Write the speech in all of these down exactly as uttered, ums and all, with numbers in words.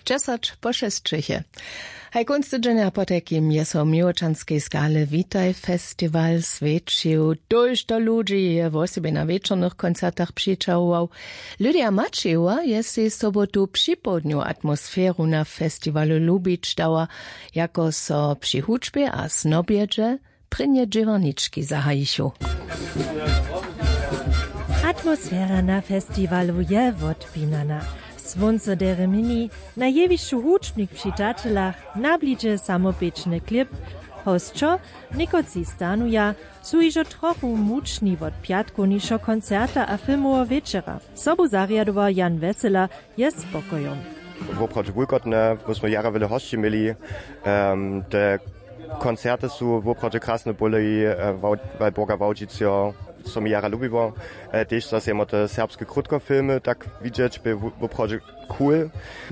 Dźesać po šesćeje. Haj kónc tydźenja potajkim je so w Měłočanskej skale Witaj festiwal swjećił. Tójšto ludźi je wosebje na wječornych koncertach přićahował. Lydia Maćejowa je sej sobotu připołdnju atmosferu na festiwalu lubić dała, jako so při hudźbje a snobjedźe prěnje dźěłarnički zahajichu. Atmosfera na festiwalu je wotpinana. Słónco derje měni, na jewišću hudźbnik při taćelach, na blidźe samopěčny klip. Hosćo, někotři stanuja, su hižo trochu mučni wot pjatkownišeho koncerta a filmoweho wječera. Sobu zarjadował Jan Wesela je spokojom. Woprawdźe wulkotne, bo smo jara wjele hosći měli. Em, te koncerty su woprawdźe krasne bóle, e, Wał-, Walborga Wałdźiceho, co mi jara lubiło. E, tež zase jemo te serbske krótkofilmy tak widźeć, bě wo-, woprawdźe cool.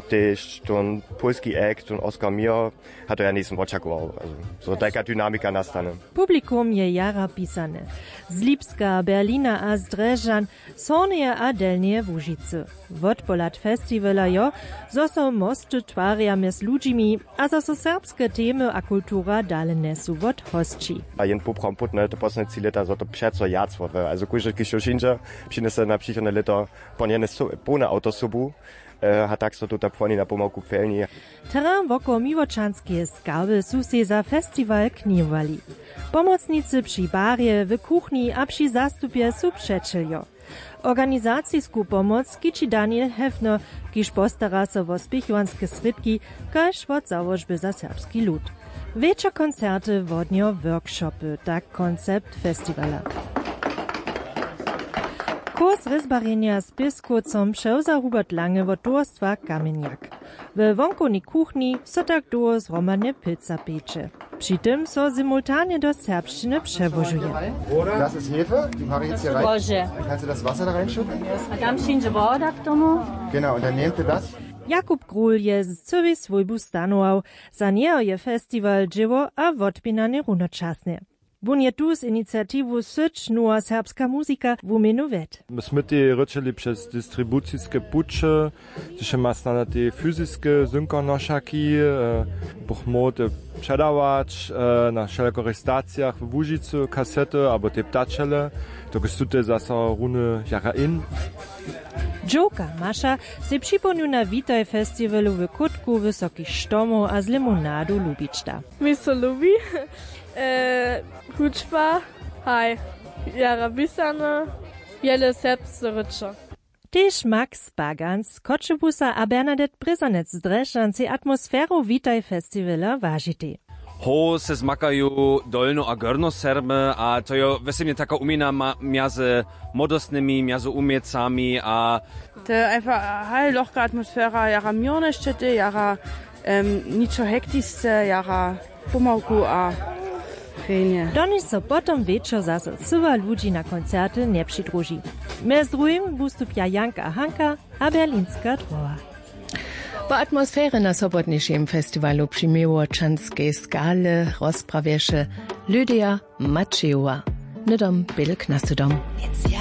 Tež ten pólski act, ten Oscar Mio, a to ja njejsym wočakował, also, zo tajka dynamika nastane. Publikum je jara pisane. Z Lipska, Berlina a z Drježdźan, z Hornjeje a Delnjeje Łužicy. Wotpohlad festiwala jo, zo so mosty twarja mjez ludźimi a zo so serbske temy a kultura dale njesu wot hosći. A jen poprawom putne, to posledne tři lěta, zo to přeco wjac wotwěra. Also kóždy, kiž jo přińdźe, přinjese na přichodne lěto ponjene so-, połne awtosobu, e, a tak so tuta płoni na pomałku pjelni. Terrain wokoło Miłočanskeje skały su sej za festiwal knihowali. Pomocnicy při barje, w kuchni a při zastupje su přećeljo. Organizacisku pomoc skići Daniel Hefner, kiž postara so wo spěchowanske srědki, kaž wot załožby za serbski lud. Wječor koncerty, wodnjo workshopy, tak koncept festiwala. Kurs rězbarjenja z pěskowcom přewza Hubert Lange wot towarstwa Kamjenjak. We wonkownej kuchni so tak dołho zhromadnje pěca pječe. Při tym so simultanje do serbšćiny přełožuje. Das ist Hefe, die mache ich jetzt hier rein. Bože. Kannst du das Wasser da reinschütten? A tam přińdźe woda k tomu. Genau, und dann nehmt ihr das. Jakub Król je z cyłej swójbu stanował. Za njeho je festiwal dźěło a wotpinanje runočasnje. Wón je tu z iniciatiwu Syć, nowa serbska muzika wuměnu wjedł. My smy tej rěčeli přez distribuciske puće, hdyž ma snano tej fyziske zynkonošaki, e, buch móhł te předawać, e, na wšelakich stacijach w Łužicy, kasety abo tej ptačele, dokelž su te zaso runy jara in. Dźowka Maša sej připołdnju na Witaj festiwalu w kótku wysokich štomow a z limonadu lubić da. Mi so lubi, e, hudźba, haj, jara pisane, wjele serbsce rěče. Tež Max Bagans z Choćebuza a Bernadette Brězanec z Drježdźan sej atmosferu Witaj festiwala wažitej. Ho se zmakaju Dolno a Gorno Serby a to jo wěsebnje taka wuměna ma-, mjazy młodostnymi, mjazy wuměcami a to je einfach, haj, lochka atmosfera, jara měrnje šćětej, jara, em, ničo hektisce, jara pomałku a rjenje. Donež so potom wječor zaso cyła ludźi na koncerty njepřidruži. Mjez druhim wustupja Jank a Hanka a Berlinska droha. Po atmosferje na sobotnišim festiwalu při Měłočanskej skale rozprawješe Lydia Maćejowa. Hnydom bědl k nasydom.